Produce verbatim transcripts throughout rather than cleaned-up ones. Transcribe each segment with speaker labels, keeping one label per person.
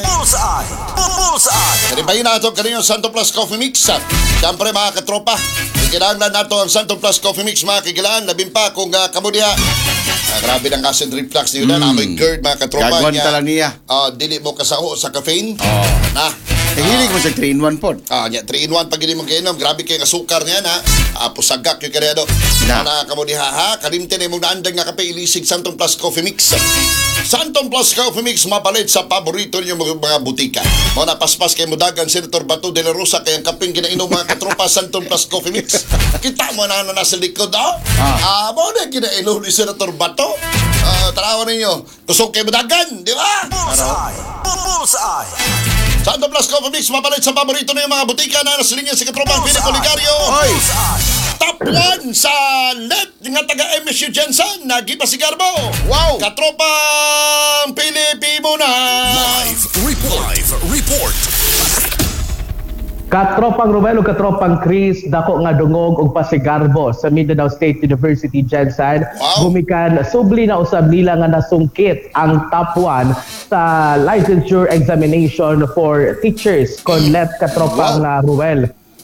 Speaker 1: Bullseye! Bullseye!
Speaker 2: Kanibayin na ito kaninyo Santo Plus Coffee Mix. Siyempre mga katropa, ikinahanglan nato ang Santo Plus Coffee Mix mga kagilaan. Labin pa kung uh, kamo diha. Ah, grabe ng acid reflux niyo na. Mm. Amoy GERD mga katropa.
Speaker 3: Gagawin tala niya.
Speaker 2: Ah, dili mo kasaho sa caffeine.
Speaker 3: Oh.
Speaker 2: Na.
Speaker 3: Eh, hilig mo sa three in one pod.
Speaker 2: Ah, nya three in one pag hindi mo kainom, grabe kay asukar niya na. Ah, pusagak yung kaya do.
Speaker 3: Na.
Speaker 2: Na kamo diha ha, kalimte na imong naandag nga kape ilisig Santon Plus Coffee Mix. Santon Plus Coffee Mix mapalit sa paborito ninyo mga, mga butika. Mao na paspas kay mudagan Senator Bato de la Rosa kay ang kapeng ginainom mga katropa Santon Plus Coffee Mix. Kita mo na ano nasa likod ah.
Speaker 3: Ah.
Speaker 2: Ah, mao na ginainom ni Senator Bato. Ah, tanawan ninyo. Kusog kay mudagan, di ba?
Speaker 1: Bullseye! Bullseye!
Speaker 2: Santo Plus Coffee Mix mapalit sa paborito ninyo mga butika na nasa linya si katropang Philip Oligario.
Speaker 3: Oy!
Speaker 1: Bullseye!
Speaker 2: Top one sa let nga taga M S U Gensan, Nagiba Sigarbo.
Speaker 3: Wow!
Speaker 2: Katropang Pilipino na.
Speaker 1: Live report! Live report!
Speaker 4: Katropang Romel ug katropang Chris, dako nga dungog og pasigarbo sa Mindanao State University Gensan.
Speaker 2: Wow.
Speaker 4: Gumikan subli na usab nila nga nasungkit ang top one sa licensure examination for teachers kon let, katropang
Speaker 2: Wow.
Speaker 4: uh, Ruel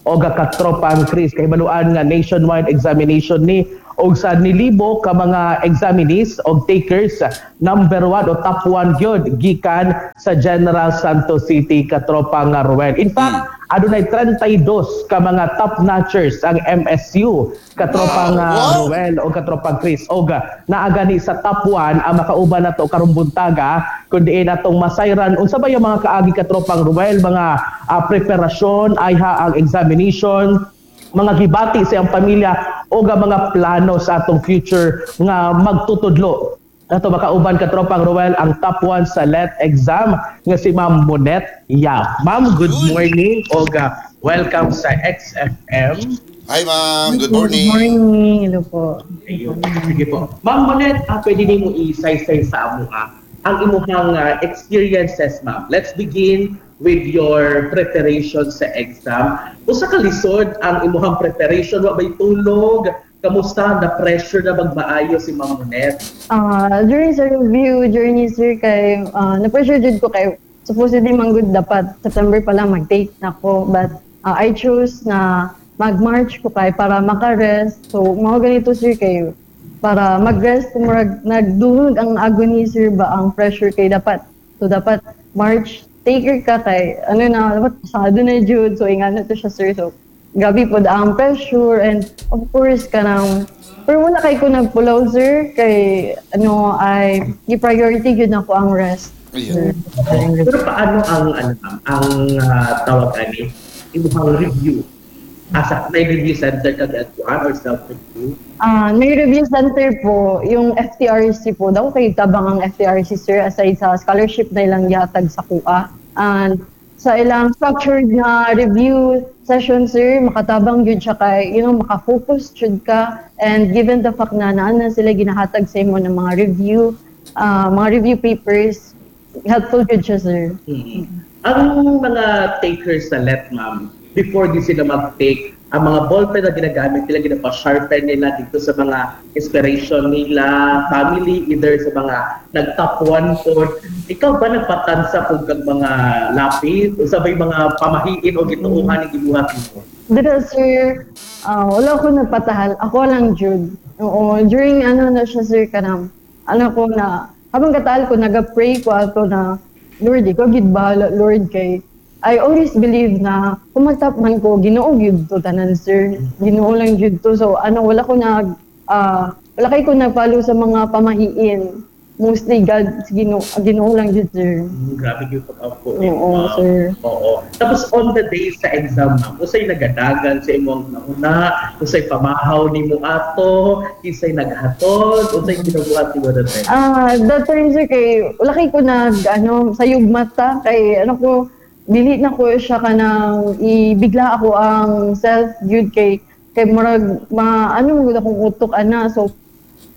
Speaker 4: o katropang Chris. Kahibaluan nga nationwide examination ni og sa nilibo ka mga examinees og takers, number one o top one gyud gikan sa General Santos City, katropang nga Ruel. In fact, adunay trentay dos ka mga top notchers ang M S U, katropang
Speaker 2: Wow!
Speaker 4: uh,
Speaker 2: Wow!
Speaker 4: Ruel o katropang Chris. Og naa gani sa top one ang makauban nato karong buntaga kundi natong masayran unsa ba yung mga kaagi, katropang Ruel, mga ah, preparasyon ayha ang examination, mga gibati sa iyang pamilya o ang mga plano sa atong future nga magtutudlo. Ato makauban, katropang Ruel, ang top one sa LET exam nga si Ma'am Monet Yap. Ma'am, good morning og ah, welcome sa X F M.
Speaker 2: Hi ma'am, good morning.
Speaker 5: Good morning. Hello po.
Speaker 4: Ayun. Sige po. Ma'am Monet, ah, pwede nimo isaysay sa amo ah, ang imuhang ah, experiences, ma'am. Let's begin with your preparation sa exam. Usa ka lisod ang imuhang preparation, wa bay tulog? Kamusta na pressure na magmaayo si Ma'am Monet?
Speaker 5: Ah, during sa review journey, sir, kay ah, na-pressure jud ko kay supposedly man gud dapat September pa lang mag-take na ko, but ah, I chose na mag-March ko kay para maka-rest. So mao ganito, sir, kay para mag-rest murag nagdungog ang agony, sir, ba ang pressure kay dapat. So dapat March taker ka kay ano na dapat pasado na jud. So ingano to siya, sir. So grabe po ang pressure and of course kanang pero wala kay ko nagpulaw, sir, kay ano ay gi-priority gyud nako ang rest.
Speaker 2: Ayun.
Speaker 4: Pero paano ang ano ma'am, ang ah, tawag ani imuhang review? Asa may review center ka gadtuan or self-review?
Speaker 5: Ah, may review center po, yung F T R C po. Daw kay tabang ang F T R C, sir, aside sa scholarship na ilang gihatag sa kuha. And sa ilang structured na review session, sir, makatabang yun siya kay, you know, maka-focus jud ka. And given the fact na naan na sila ginahatag sa imo ng mga review, ah, mga review papers, helpful jud siya, sir.
Speaker 4: Mhm. Ang mga takers sa LET, ma'am, before di sila mag-take, ang mga ballpen na ginagamit nila, ginapa-sharpen nila dito sa mga inspiration nila, family, either sa mga nag-top one po. Ikaw ba nagpatansa po kag mga lapis? O sabay mga pamahiin o gituohan ang gibuhat mo?
Speaker 5: Dira, sir, ah, wala ko nagpatahal. Ako lang, jud. Oo, during ano na siya, sir, kanang, ano ko na, habang kataal ko, naga-pray ko ato na, "Lord, ikaw gid bahala, Lord," kay, I always believe na kung mag-top man ko, Ginoo gyud to tanan, sir. Ginoo lang gyud to. So, ano, wala ko nag, ah, wala kay ko nag-follow sa mga pamahiin. Mostly God, Ginoo, Ginoo lang gyud, sir.
Speaker 4: Mm, grabe yung pag-up po.
Speaker 5: Oo,
Speaker 4: ma'am.
Speaker 5: sir.
Speaker 4: Oo. Tapos on the day sa exam, ma'am, usay nagadagan sa imong nauna, usay pamahaw nimo ato, isay naghatod, usay ginabuhat nimo that time?
Speaker 5: Ah, that time, sir, kay wala kay ko nag ano sayog mata kay ano ko dili na ko siya kanang ibigla ako ang self gyud kay kay murag ma ano man gud akong utok ana. So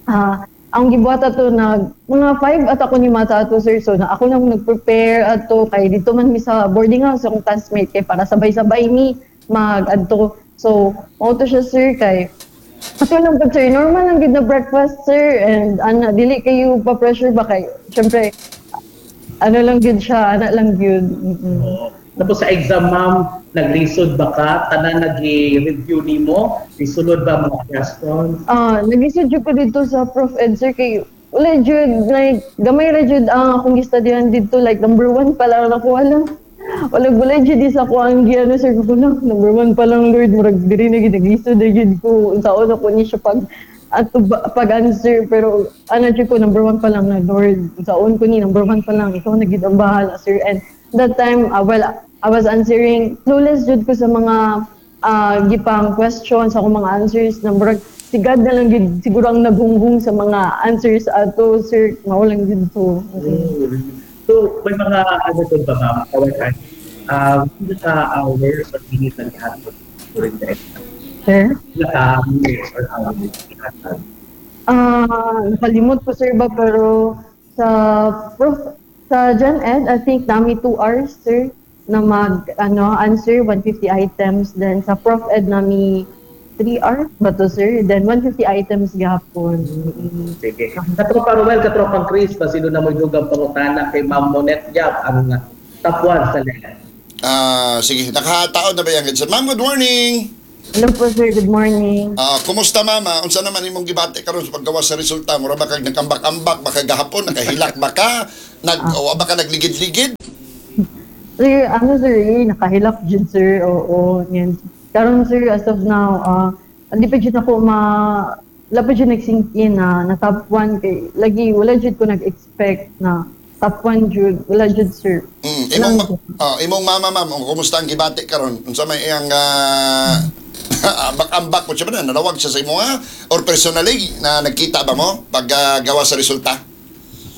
Speaker 5: ah ang gibuhat ato nag mga five at ako ni mata ato, sir. So na ako nang nag-prepare ato kay dito man mi sa boarding house akong classmate kay para sabay-sabay mi mag adto. So mao to siya, sir, kay ato lang po, sir, normal lang gid na breakfast, sir, and ana dili kayo pa pressure ba kay syempre Ano lang gyud siya, ana lang gyud. Mm-mm.
Speaker 4: Oo. Tapos sa exam, ma'am, naglisod ba ka? Tanan nag-review nimo? Isulod ba mga questions?
Speaker 5: Ah, nag-isod jud ko dito sa Prof Ed sir kay wala jud like gamay ra jud ang akong gistudyan dito like number one pa lang ako wala. Wala wala jud sa ako ang giano sir ko lang number one pa lang Lord murag diri na gid naglisod na jud ko unsaon ako ni siya pag ato ba- pag answer pero ano jud ko number one pa lang na Lord unsaon ko ni number one pa lang ikaw na gid ang bahala sir and that time uh, well I was answering clueless jud ko sa mga ah gipang questions sa akong mga answers na murag si God na lang gid siguro ang naghunghung sa mga answers ato sir mao lang gid to
Speaker 4: Mm. So, may mga ano doon ba, ma'am? Kawasan, um, sa hours or minutes na gihatod during the exam?
Speaker 5: sir
Speaker 4: Naka minutes or hours gihatod?
Speaker 5: Ah, nakalimot ko sir ba pero sa prof sa Gen Ed I think nami two hours sir na mag ano answer one fifty items then sa Prof Ed nami three hours ba to sir then one fifty items gihapon. Mm.
Speaker 4: Sige. Katropa Ruel, katropang Chris, basino na mo dugang pangutana kay Ma'am Monet Yap, ang top one sa LET.
Speaker 2: Ah, sige, nakataon na ba yan? Ma'am, good morning.
Speaker 5: Hello po sir, good morning.
Speaker 2: Ah, kumusta mama? Unsa naman imong gibati karon sa paggawas sa resulta? Mura ba kag nagkambak-ambak, baka gahapon nakahilak ba ka? Nag o ba ka nagligid-ligid?
Speaker 5: Sir, ano sir, eh, nakahilak jud sir. Oo, yan. Karon sir, as of now, ah, hindi pa jud ako ma wala pa jud nag-sink in na, na top one kay lagi wala jud ko nag-expect na top one jud, wala jud sir.
Speaker 2: Mm, imong ma- ah, imong mama ma'am, oh, kumusta ang gibati karon? Unsa may iyang uh, ambak-ambak mo siya ba na nanawag siya sa imo ha? Or personally na nagkita ba mo pag ah, gawa sa resulta?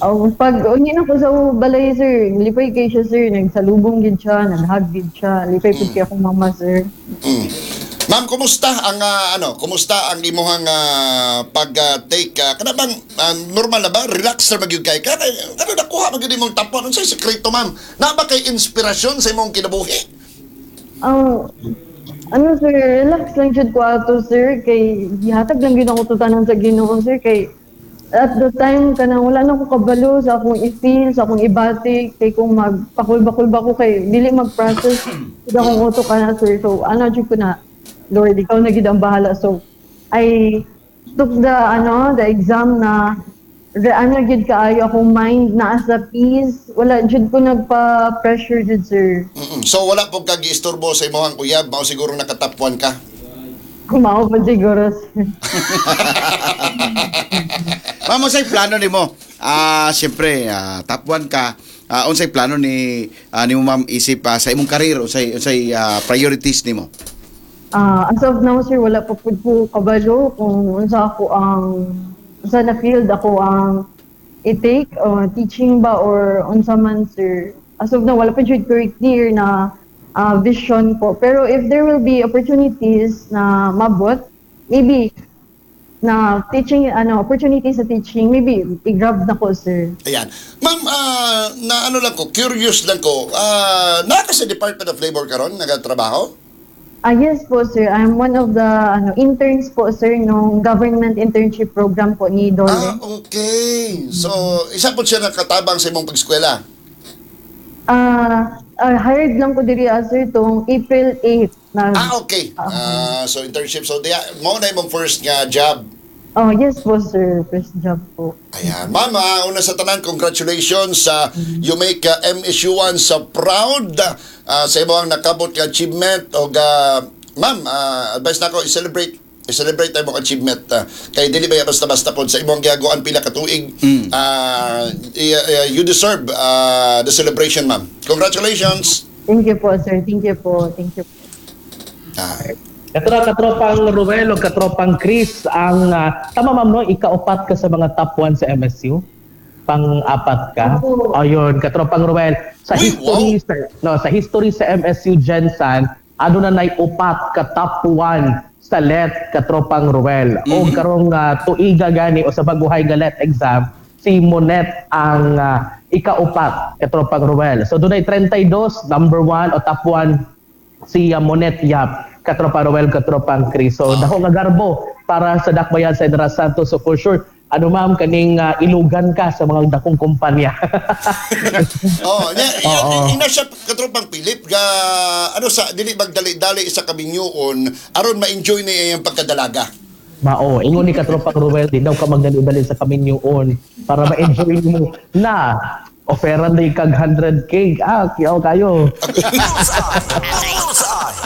Speaker 5: Oh, pag unya na ko sa balay sir, lipay kay siya sir, nagsalubong gid siya, nag-hug gid siya, lipay pud kay akong mama sir.
Speaker 2: Mm. Ma'am, kumusta ang ah, ano, kumusta ang imuhang ah, pag-take uh, kana bang ah, normal na ba? Relax ra magyud kay ka? Kay ano nakuha magyud imong top one? Unsay sekreto, ma'am? Na ba kay inspirasyon sa imong kinabuhi?
Speaker 5: Ang ano sir, relax lang jud ko ato sir kay gihatag lang gyud ako tutanan sa Ginoo sir kay at the time kanang wala na ko kabalo sa akong i-feel, sa akong ibati kay kung magpakulba-kulba ko kay dili mag-process jud akong utok kana sir. So ano jud ko na Lord, ikaw na gid ang bahala. So I took the ano, the exam na re, ano gid kaayo akong mind naa sa peace. Wala jud ko nagpa-pressure jud sir.
Speaker 2: Mm-mm. So wala po kag giistorbo sa imong uyab, mao siguro naka-top one ka.
Speaker 5: Mao pa siguro sir.
Speaker 3: Ma'am, unsay plano nimo? Ah, siyempre, ah, top one ka. Ah, unsay plano ni ah, nimo ma'am isip ah, sa imong career, unsay unsay ah, priorities nimo?
Speaker 5: Ah, as of now sir, wala pa pud ko kabalo kung unsa ako ang unsa na field ako ang i-take uh, teaching ba or unsa man sir. As of now wala pa jud ko clear na ah, vision ko. Pero if there will be opportunities na mabot, maybe na teaching ano opportunities sa teaching, maybe i-grab na ko sir.
Speaker 2: Ayan. Ma'am, ah, na ano lang ko, curious lang ko. Ah, naa ka sa Department of Labor karon nagatrabaho?
Speaker 5: Ah, yes po sir, I'm one of the ano interns po sir nung government internship program po ni DOLE.
Speaker 2: Ah, okay. So, isa po siya nakatabang sa imong pag-eskwela.
Speaker 5: Ah, ah, hired lang ko diri ah, sir tong April eight na.
Speaker 2: Ah, okay. Ah, so internship. So, diya, mo na imong first nga job.
Speaker 5: Oh, yes po sir, first job po.
Speaker 2: Ayan. Ma'am, ah, una sa tanan, congratulations sa you make uh, M S U one sa proud uh, sa imong nakabot nga achievement og uh, ma'am, ah, advice nako i-celebrate i-celebrate imong achievement uh, kay dili ba ya basta-basta pod sa imong giaguan pila ka tuig. Ah, i- uh, you deserve ah, the celebration, ma'am. Congratulations.
Speaker 5: Thank you po sir, thank you po, thank you po.
Speaker 2: Ah,
Speaker 4: Katro, katropang Ruel o katropang Chris, ang ah, tama ma'am no, ikaupat ka sa mga top one sa M S U? Pang-apat ka?
Speaker 5: Opo.
Speaker 4: Ayun, katropang Ruel. Sa
Speaker 2: Uy,
Speaker 4: history sa, no, sa history sa M S U GenSan, ano na nay upat ka top one sa LET katropang Ruel. O karong ah, tuiga gani o sa baguhay nga LET exam, si Monet ang ah, ikaupat katropang Ruel. So dunay thirty-two number one o top one si uh, Monet Yap, katropa Roel, katropang Chris. So, dako nga garbo para sa Dakbayan sa General Santos. So, for sure, Ano ma'am, kaning ah, ilugan ka sa mga dakong kumpanya.
Speaker 2: Oh, nya
Speaker 4: Oo.
Speaker 2: ina siya katropang Philip ga ano sa dili magdali-dali sa kaminyoon aron ma-enjoy niya iyang pagkadalaga.
Speaker 4: Mao, ingon ni katropang Ruel, di daw ka magdali-dali sa kaminyoon para ma-enjoy mo na offeran day kag one hundred k. Ah, kiyaw kayo.
Speaker 1: Bullseye. Bullseye.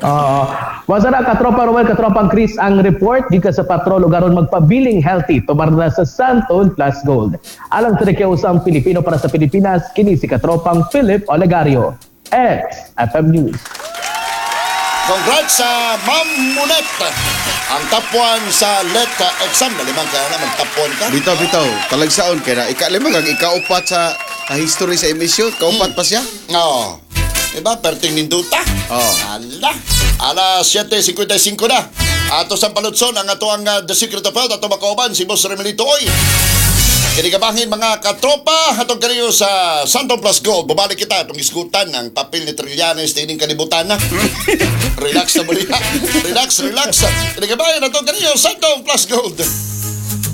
Speaker 4: Oo. Masa na katropa Ruel, katropang Chris, ang report gikan sa patrol ug aron magpabiling healthy tumar na sa Santon Plus Gold. Alang sa usang Pilipino para sa Pilipinas, kini si katropang Philip Olegario. X F M News.
Speaker 2: Congrats sa Ma'am Munet. Ang top one sa L E T exam. Nalimang kaya na mag top one ka.
Speaker 3: Bitaw bitaw, talagsaon kay na ikalima kag ikaupat sa sa history sa emission, kaupat pa siya.
Speaker 2: Oo. Diba? Perting ninduta.
Speaker 3: Oo.
Speaker 2: Ala. Alas siyete singkwenta singko na. Ato sa palutson ang ato ang uh, The Secret of Health ato makauban si Boss Remelito Oy. Kinigabangin mga katropa, hatong kaniyo sa Santon Plus Gold. Bumalik kita atong isgutan ang papel ni Trillanes dining kalibutan na. Relax na muli. Relax, relax. Kinigabangin atong kaniyo Santon Plus Gold.